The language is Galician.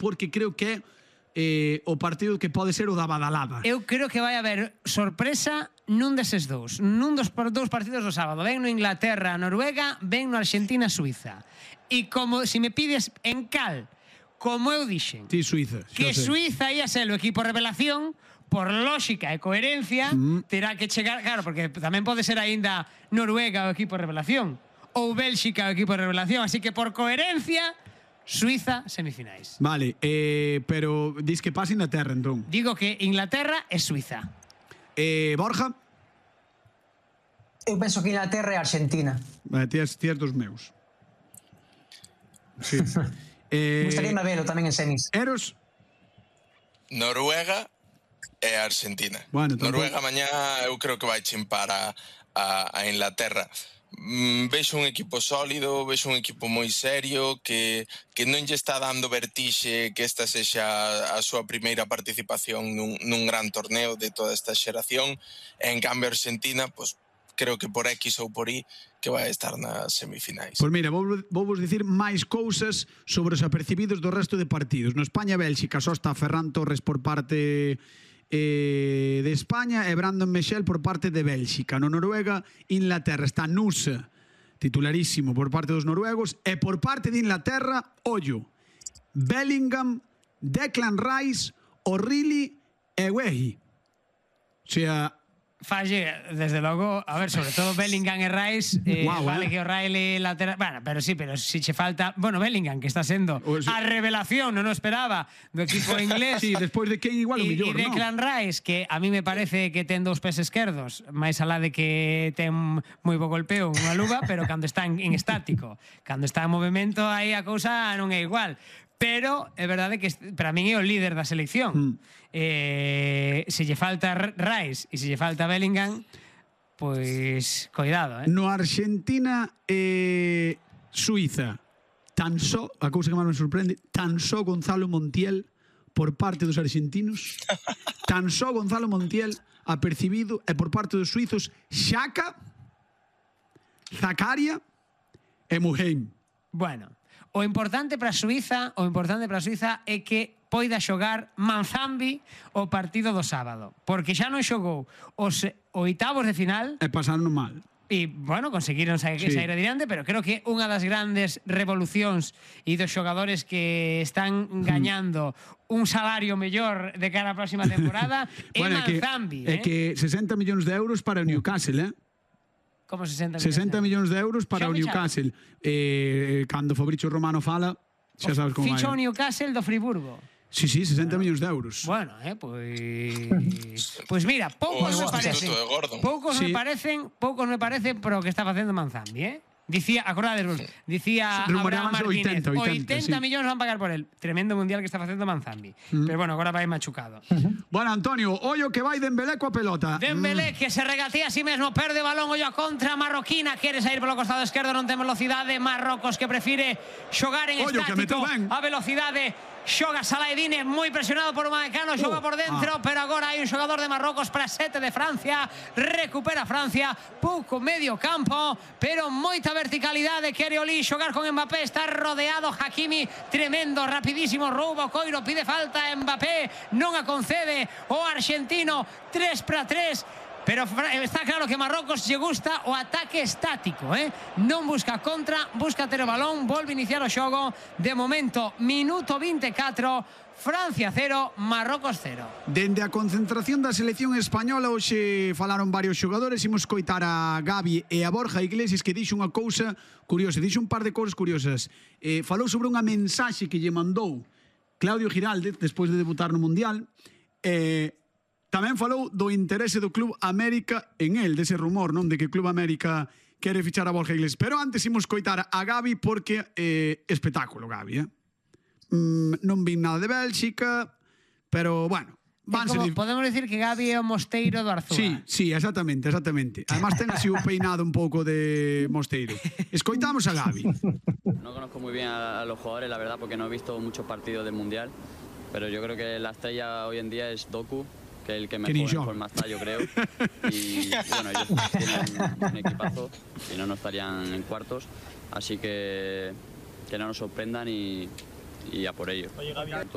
porque creo que o partido que pode ser o da badalada. Eu creo que vai haber sorpresa nun deses dous. Nun dos partidos do sábado. Ven no Inglaterra-Noruega, ven no Argentina-Suiza. E como, se me pides en cal, como eu dixen, Sí, Suiza. que Suiza ia ser o equipo revelación, por lógica e coherencia, terá que chegar, claro, porque tamén pode ser aínda Noruega o equipo revelación, ou Bélxica o equipo revelación, así que por coherencia, Suiza semifinais. Vale, pero dis que pasa Inglaterra, entón. Digo que Inglaterra e Suiza. Borja? Eu penso que Inglaterra e Argentina. Tías dos meus. Sí. Gustaríame velo tamén en semis. Eros? Noruega e Argentina. Bueno, Noruega mañá eu creo que vai chimpar a Inglaterra. Vexo un equipo sólido, vexo un equipo moi serio que non lle está dando vertixe que esta sexa a súa primeira participación nun gran torneo de toda esta xeración, e en cambio Argentina, pues, creo que por X ou por Y que vai estar nas semifinais. Pois mira, vou vos dicir máis cousas sobre os apercibidos do resto de partidos. No España-Bélxica só está Ferran Torres por parte de España e Brandon Michel por parte de Bélxica. No Noruega-Inglaterra está Nusa, titularísimo por parte dos noruegos, e por parte de Inglaterra, ollo, Bellingham, Declan Rice, O'Reilly e Wehi. O sea, Falle, desde logo, a ver, sobre todo Bellingham e Rice, vale que O'Reilly lateral, bueno, pero sí, pero si che falta, bueno, Bellingham, que está sendo a revelación, non o esperaba, do equipo inglés. Sí, despois de que igual o millor, non? E Declan Rice, que a mí me parece que ten dous pés esquerdos, máis alá de que ten moi bo golpeo unha luva, pero cando está en estático, cando está en movimento, aí a cousa non é igual. Pero é verdade que para min é o líder da selección. Se lle falta Rice e se lle falta Bellingham, pois cuidado, No Argentina Suiza, tan só, a cousa que máis me sorprende, tan só Gonzalo Montiel por parte dos argentinos, tan só Gonzalo Montiel apercibido, e por parte dos suizos Xhaka, Zakaria e Muheim. Bueno, o importante para Suiza é que poida xogar Manzambi o partido do sábado, porque xa non xogou os oitavos de final e pasaron mal. E, bueno, conseguiron sair adiante, pero creo que unha das grandes revolucións e dos xogadores que están gañando un salario mellor de cara á próxima temporada é Manzambi. É que 60 millóns de euros para o Newcastle, Como 60 millóns de euros para o Newcastle. Cando Fabrizio Romano fala, xa sabes como vai. Ficha o Newcastle do Friburgo. Sí, 60 millóns de euros. Bueno, pois mira, poucos me parecen pero o que está facendo Manzambi, Dicía, acordadesvos, dicía Abraham Martínez, 80 millóns van pagar por él. Tremendo mundial que está facendo Manzambi. Pero bueno, agora vai machucado. Bueno, Antonio, ollo que vai Dembélé coa pelota. Dembélé que se regatea a sí mesmo, perde o balón, ollo a contra marroquina, quere sair polo costado esquerdo, non ten velocidade, Marrocos que prefire xogar en estático, a velocidade. Xoga Salaedine, moi presionado por Upamecano, xoga por dentro, pero agora hai un xogador de Marrocos para 7 de Francia, recupera Francia, pouco medio campo, pero moita verticalidade, quere Oli xogar con Mbappé, está rodeado Hakimi, tremendo, rapidísimo roubo, Coiro pide falta, Mbappé non a concede o argentino, 3-3, pero está claro que Marrocos lle gusta o ataque estático, non busca contra, busca ter o balón, volve iniciar o xogo. De momento, minuto 24, Francia 0, Marrocos 0. Dende a concentración da selección española hoxe falaron varios xogadores. Imos coitar a Gavi e a Borja Iglesias, que dixo unha cousa curiosa, dixo un par de cousas curiosas. Falou sobre unha mensaxe que lle mandou Claudio Giraldez despois de debutar no Mundial. Tamén falou do interese do Club América en el, dese rumor, non, de que Club América quere fichar a Borja Iglesias. Pero antes imos coitar a Gavi porque espectáculo Gavi, non vi nada de Bélxica, pero bueno, podemos decir que Gavi é o mosteiro do Arzúa. Sí, exactamente. Además ten así un peinado un pouco de mosteiro. Escoitamos a Gavi. No conozco muy bien a los jugadores, la verdad, porque no he visto muchos partidos del Mundial, pero yo creo que la estrella hoy en día es Doku, que es el que mejor en forma está, yo creo. Y bueno, ellos tienen un equipazo, si no, no estarían en cuartos. Así que no nos sorprendan y a por ello. Oye, Gavi,